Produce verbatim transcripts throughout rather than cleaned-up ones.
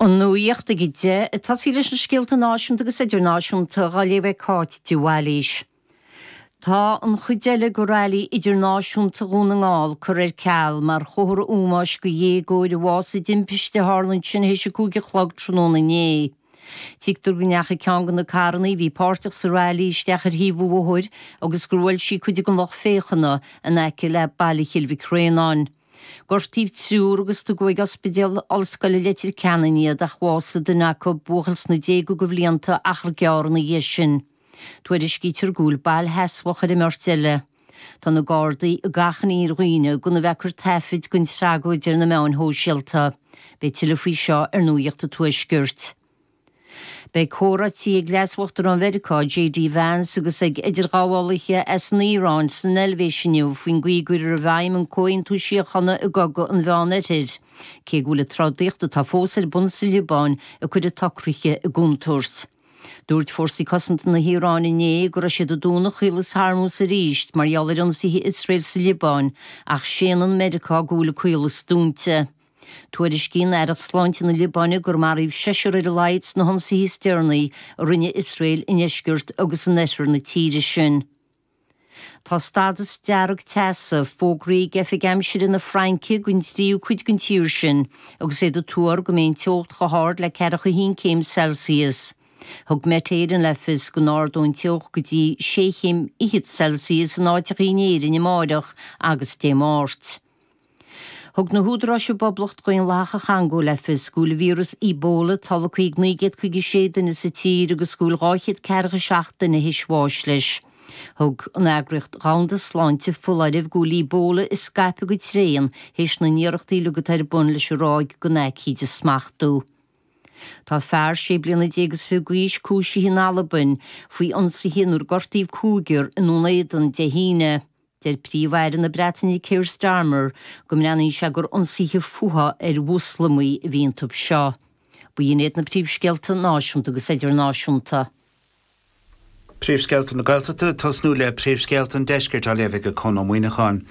An nuacht ag a deich ag tosaí leis na scéalta náisiúnta agus idirnáisiúnta á léamh ag Cáit de Bhailís. Tá an chuid eile de Railí Idirnáisiúnta Dhún na nGall curtha ar ceal mar chomhartha ómóis do dhéagóir a bhásaigh i dtimpiste a tharla ansin théis a cúig a chlog tráthnóna inné. Tuigtear go ndeachaigh ceann de na carranna a bhí páirteach sa railí isteach ar thaobh an bhóthair agus gur bhuail sí cuid den lucht féachana in aice le Baile Chill Mhic Réanáin. Gortaíodh triúr agus tugadh ag Ospidéal Ollscoile Leitir Ceanainn iad ach bhásaigh duine acu, buachaill sna déaga de bhlianta, achar gearr ina dhiaidh sin. Tuairiscítear go bhfuil bail sheasmhach ar an mbeirt eile. Tá na Gardaí ag achainí ar dhaoine gan a bheith ag cur taifid den tragóid ar na meáin shóisialta. Beidh tuilleadh faoi seo ar Nuacht an Tuaiscirt. Beidh comhráití ag Leas-Uachtarán Mheiriceá, J D Vance agus ag idirghabhálaithe as an Iaráin san Eilvéis inniu faoin gcaoi a gcuirfear i bhfeidhm an comhaontú síochána i gcogadh an Mheán-Oirthir, cé go bhfuil an trodaíocht atá fós ar bun sa Liobáin ag cur an tsocraithe i gcontúirt. Dúirt fórsaí cosanta na hIaráine inné go raibh siad ag dúnadh Chaolas Hormuz arís mar gheall ar ionsaithe Iosrael sa Liobáin, ach séanann Meiriceá go bhfuil an caolas dúnta. Tuairiscíonn Aireacht Sláinte na Liobáine gur maraíodh seisear ar a laghad sna hionsaithe is deireanaí a rinne Iosrael i ndeisceart agus in oirthear na tíre sin. Tá stádas dearg teasa fógraithe ag Oifig Aimsire na Fraince don tríú cuid den tír sin agus iad ag tuar go mbeidh an teocht chomh hard le ceathracha a haon céim Celsius. Thug Met Éireann le fios go n-ardóidh an teocht go dtí sé chéim fhichead Celsius in áiteacha in Éirinn amárach agus Dé Máirt. Thug na húdaráis i bPoblacht Dhaonlathach an Chongó le fios go bhfuil víreas Ebola tolgtha ag naoi gcéad caoga sé duine sa tír agus go bhfuil dhá chéad ceathracha seacht duine théis bháis leis. Thug an Eagraíocht Dhomhanda Sláinte foláireamh go bhfuil Ebola ag scaipeadh go tréan théis na n-iarrachtaí uilig atá ar bun leis an ráig den aicíd a smachtú. Tá fear sé bliana déag is fiche d'aois cúisithe in Albain faoi ionsaithe inar gortaíodh cúigear i nDún Éideann Dé hAoine. Deir Príomh-Aire na Breataine Keir Starmer go mbreathnaíonn sé gur ionsaithe fuatha ar Mhoslamaigh a bhí iontu seo. B'in iad na príomhscéalta náisiúnta agus idirnáisiúnta. Príomhscéalta na Gaeltachta ag tosnú le príomhscéalta an deiscirt á léamh ag Conn Ó Muíneacháin.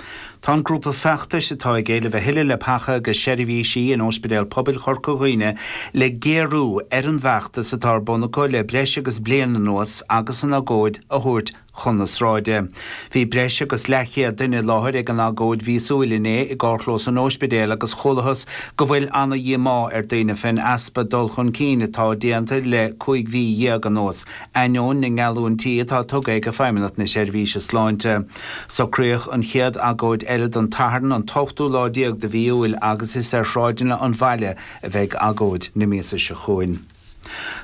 Tá an grúpa feachtais atá ag éileamh a thuilleadh leapacha agus seirbhísí in Ospidéal Pobail Chorca Dhuibhne le géarú ar an bhfeachtas atá ar bun acu le breis agus bliain anuas agus an agóid a thabhairt chun na sráide. Bhí breis agus leathchéad duine i láthair ag an agóid mhíosúil inné i gcarrchlós an ospidéil agus chualathas go bhfuil ana-dhíomá ar daoine fén easpa dul chun cinn atá déanta le cúig mhí dhéag anuas, ainneoin na ngeallúintí atá tugtha ag Feidhmeannacht na Seirbhíse Sláinte. Socraíodh an chéad agóid eile don Satharn an t-ochtú lá déag de mhí Iúil agus is ar shráideanna an bhaile a bheidh agóid na míosa seo chugainn.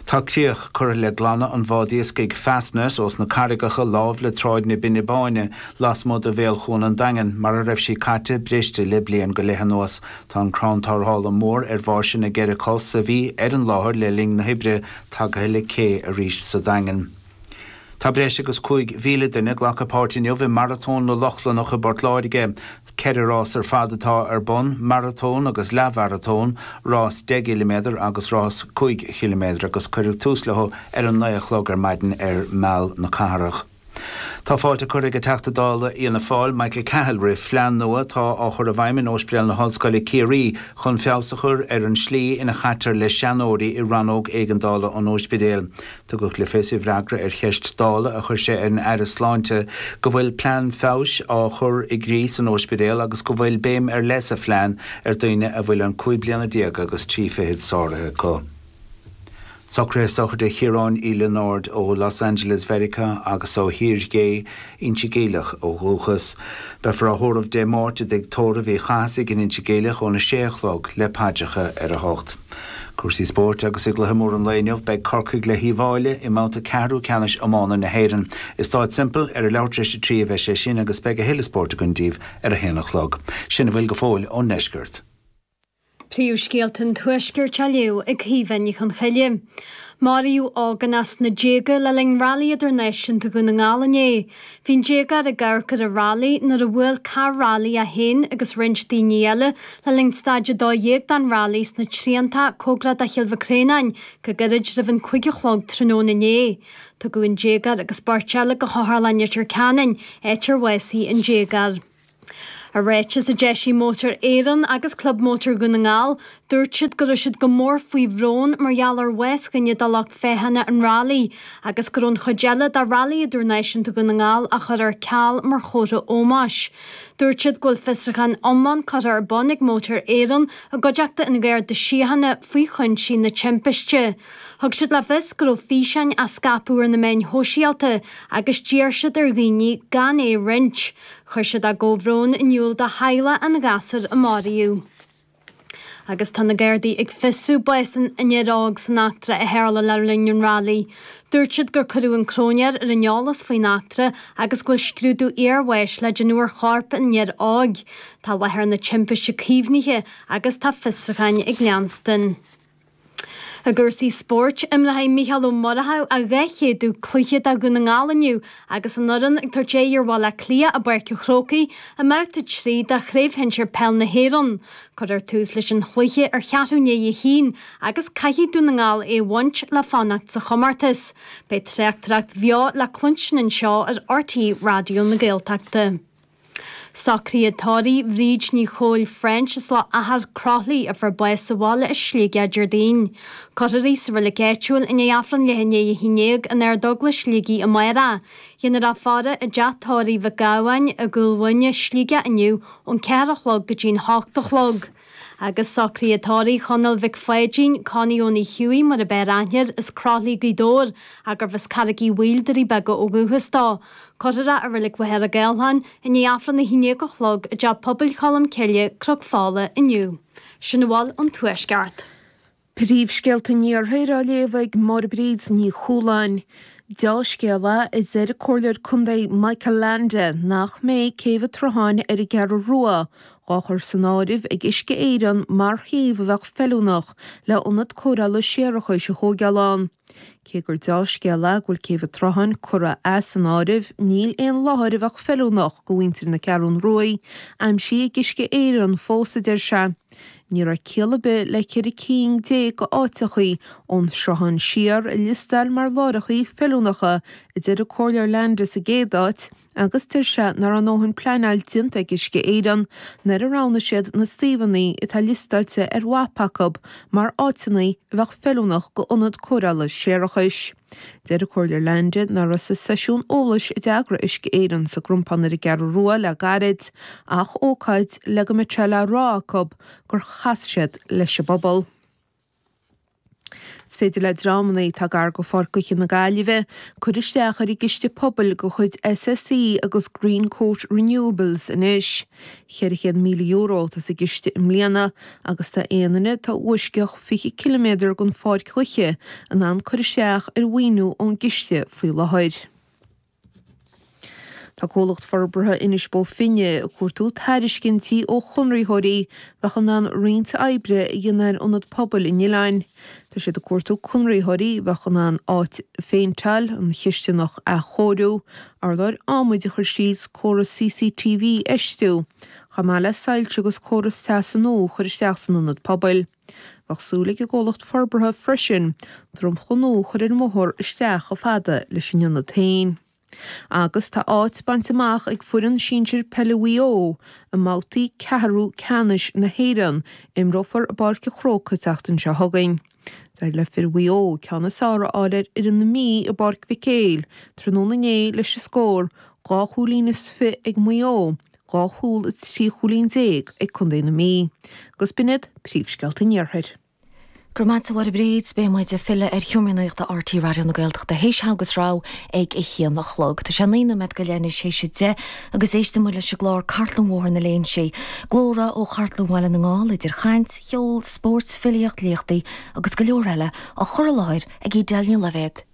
Tá críoch curtha le glanadh an bhád iascaigh Fastnet ós na carraigeacha láimh le Tráid na Binne Báine lasmuigh de bhéal Chuan an Daingin mar a raibh sí caite briste le bliain go leith anuas. Tá an crann tarrthála mór ar bháirse na gceithre cos a bhí ar an láthair le linn na hoibre tagtha le cé arís sa Daingean. Tá breis agus cúig mhíle duine ag glacadh páirt inniu i Maratón na Lochlannach i bPort Láirge. Ceithre rás ar fad atá ar bun, maratón agus leathmharatón, rás deich gciliméadar agus rás cúig chiliméadar agus cuireadh tús leo ar an naoi a chlog ar maidin ar Mheal na Cathrach. Tá fáilte curtha ag an Teachta Dála Fhianna Fáil Michael Cahill roimh phlean nua atá á chur i bhfeidhm in Ospidéal na hOllscoile Ciarraí chun feabhas a chur ar an slí ina chaitear le seanóirí i rannóg éigeandála an ospidéil. Tugadh le fios i bhfreagra ar cheist Dála a chuir sé ar an Aire Sláinte go bhfuil plean feabhais á chur i gcrích san ospidéal agus go bhfuil béim ar leith sa phlean ar dhaoine a bhfuil an cúig bliana déag agus trí fichid sáraithe acu. Socruithe sochraide Chiaráin Uí Lionáird ó Los Angeles Mheiriceá agus ó Thír Gé Inse Geimhleach ó dhúchas. Beifear á thórramh Dé Máirt i dtigh tórraimh Uí Chathasaigh in Inse Geimhleach óna sé a chlog le paidreacha ar a hocht. Cúrsaí spóirt agus i gcluiche mór an lae inniu beidh Corcaigh le hUíbh Fhailí i mbabhta ceathrú ceannais iomána na hÉireann. I Stáid Semple ar a leathuair tar éis a trí a bheidh sé sin agus beidh a thuilleadh spóirt againn daoibh ar a haon a chlog. Sin a bhfuil go fóill ón ndeisceart. Príomhscéalta an Tuaiscirt á léamh ag Caoimhe Ní Chonchoille. Maraíodh ógánach sna déaga le linn Railí Idirnáisiúnta Dhún na nGall inné. Bhí an déagóir ag amharc ar an railí nuair a bhuail carr railí é féin agus roinnt daoine eile le linn staid a dó dhéag den railí sna Trianta cóngarach do Chill Mhic Réanáin go gairid roimh an cúig a chlog tráthnóna inné. Tugadh an déagóir agus beirt eile go hOtharlann Leitir Ceanainn, áit ar bhásaigh an déagóir. I ráiteas a d'eisigh Mótar Éireann agus Club Mótar Dhún na nGall, dúirt siad go raibh siad go mór faoi bhrón mar gheall ar bhás dhuine de lucht féachana an railí agus go raibh an chuid eile de Railí Idirnáisiúnta Dhún na nGall á chur ar ceal mar chomhartha ómóis. Dúirt siad go bhfuil fiosrúchán iomlán curtha ar bun ag Mótar Éireann i gcuideachta an Gharda Síochána faoi chúinsí na timpiste. Thug siad le fios go raibh físeáin á scaipeadh ar na meáin shóisialta agus d'iarr siad ar dhaoine gan é a roinnt. Chuir siad a gcomhbhrón in iúl do theaghlach an ghasúir a maraíodh. Agus tá na Gardaí ag fiosrú bás an fhir óig san eachtra a tharla le linn an railí. Dúirt siad gur cuireadh an cróinéir ar an eolas faoin eachtra agus go bhfuil scrúdú iarbháis le déanamh ar chorp an fhir óig. Tá láthair na timpiste caomhnaithe agus tá fiosrúcháin ag leanstan. I gcúrsaí spóirt, imreoidh Mícheál Ó Murchú a dhá chéadú cluiche do Dhún na nGall inniu agus an fhoireann ag tabhairt aghaidh ar Bhaile Átha Cliath i bPáirc an Chrócaigh i mbabhta trí de Chraobh Shinsir Peil na hÉireann. Cuirfear tús leis an chluiche ar cheathrú i ndiaidh a haon agus caithfidh Dún na nGall é a bhaint le fanacht sa chomórtas. Beidh tráchtaireacht bheo le cluinstin anseo ar RTÉ Raidió na Gaeltachta. Socruithe tórraimh Bhríd Ní Chóil French as Loch Achar Croithlí a fuair bás sa bhaile i Sligeach Déardaoin. Cuirfear í sa reilig áitiúil i ndiaidh Aifreann leath i ndiaidh a haon déag in Ardeaglais Shligigh amárach. Déanfar í a fhaire i dteach tórraimh Mhic Gabhann i gCúil Mhuine, Sligeach inniu ón ceathair a chlog go dtí'n hocht a chlog. Agus socruithe tórraimh Chonaill Mhic Pháidín, Connie Ónaí Hughie mar ab fhearr aithne air as Croithlí Gaoth Dobhair gurbh as Carraig Uí Bhaoill Doirí Beaga ó dhúchas dó. Cuirfear é i reilig Mhachaire Gathlán i ndiaidh Aifreann a haon déag a chlog i dTeach Pobail Cholm Cille, Cnoc Fola inniu. Sin a bhfuil ón Tuaisceart. Príomhscéalta an Iarthair á léamh ag Máire Bríd Ní Chualáin. Dea-scéal é a deir an Comhairleoir Contae Michael Leainde nach mbeidh Céibh an tSrutháin ar an gCeathrú Rua dhá chur san áireamh ag Uisce Éireann mar shuíomh a bheadh feiliúnach le ionad cóireála séarachais a thógáil ann. Cé gur dea-scéal é go bhfuil Céibh an tSrutháin curtha as an áireamh, níl aon láthair a bheadh feiliúnach do mhuintir na Ceathrún Rua aimsithe ag Uisce Éireann fós a deir sé. Ní raibh ciall ar bith le ceithre cinn déag d'áiteachaí ón Sruthán siar a liostáil mar láithreachaí feiliúnacha a deir an Comhairleoir Leainde sa gcéad áit agus deir sé nach raibh a ndóthain pleanáil déanta ag Uisce Éireann nuair a roghnaigh siad na suíomhanna atá liostáilte ar mhapa acu mar áiteanna a bheadh feiliúnach go ionad cóireála séarachais. Deir an Comhairleoir Leainde nach raibh sa seisiún eolais a d'eagraigh Uisce Éireann sa gCrompán ar an gCeathrú Rua le gairid ach ócáid le go mbeadh sé le rá acu gur chas siad leis an bpobal. Is féidir le dreamanna atá gar go Pháirc Gaoithe na Gaillimhe cur isteach ar an gciste pobail de chuid SSE agus Greencoat Renewables anois. Ceithre chéad míle euro atá sa gciste i mbliana agus tá aon duine atá uaisceach fiche ciliméadar den Pháirc Ghaoithe in ann cur isteach ar mhaoiniú ón gciste faoi láthair. Tá comhlacht forbartha Inis Bó Finne ag cuartú tairiscintí ó chonraitheoirí bheadh in ann roinnt oibre a dhéanamh ar ionad pobail an oileáin. Tá siad ag cuartú conraitheoirí bheadh in ann áit a phéinteáil, an chisteanach a athchóiriú, urlár adhmaid a chur síos, córas CCTV a fheistiú, chomh maith le soilse agus córas teasa nua a chur isteach san ionad pobail. Bheadh súil ag an gcomhlacht forbartha freisin dromchla nua a chur ar an mbóthar isteach chomh fada leis an ionad féin. Agus tá áit bainte amach ag foireann sinsir peile Mhaigh Eo i mbabhtaí ceathrú ceannais na hÉireann, imreofar i bPáirc an Chrócaigh an tseachtain seo chugainn. D'éirigh le fir Mhaigh Eo ceann is fearr a fháil ar fhoireann na Mí i bPáirc Mhic Éil tráthnóna inné leis an scór dhá chúilín is fiche ag Maigh Eo, dhá chúl is trí chúilín déag ag Contae na Mí. Agus b'in iad príomhscéalta an Iarthair. Go raibh maith agat a Mháire Bríd, beidh muid ag filleadh ar sheomra nuachta RTÉ Raidió na Gaeltachta théis agus rá ag a haon a chlog. Tá sé naoi nóiméad go leith anois théis a deich agus éisteann muid leis an gclár Cartlann Bhóthar na Léinsí. Glórtha ó Chartlann Bhaile na nGall idir chaint, cheol, spórt, filíocht, léachtaí agus go leor eile á chur i láthair ag Edel Ní Loibhéad.